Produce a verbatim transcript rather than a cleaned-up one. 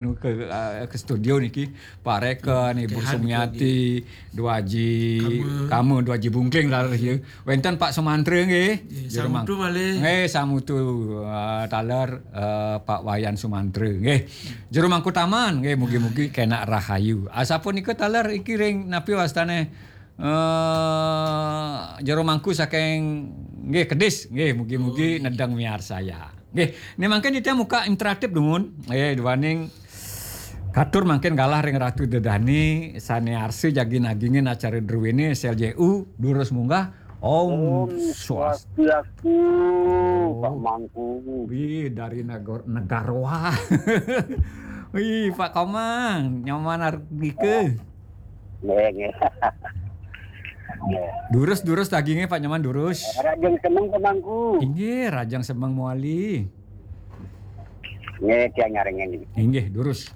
ke, eh, ke studio niki, Pak Reken, Ibu Sumiati, Dua Haji Kama, Dua Haji Bungkling, taler ya. Wenten Pak Sumantra nggih. Nggih, samutu, eh, taler, eh, Pak Wayan Sumantra nggih. Jero Mangku Taman nggih, mugi-mugi kenak rahayu. Asapunika taler iki ring napi wastane, eh, Jero Mangku saking nggih Kedis nggih, mugi-mugi nedeng miarsaya. Nggih, ne mangkin titiang muka interaktif dumun. Nggih, duaning katur mangkin galah ring Ratu Dedani sane arsa jagi nagingin acara druwene S L J U, durus munggah. Om Swastiastu, Pak Mangku. Wih, dari Negor-, Negaroa. Wih, Pak Komang, nyaman argike. Nggih, nggih. Nggih. Durus, durus daginge, Pak, nyaman durus. Rajang semeng, Pak Mangku. Inggih, rajang semeng mawali. Nggih, tiang nyarengin. Inggih, durus.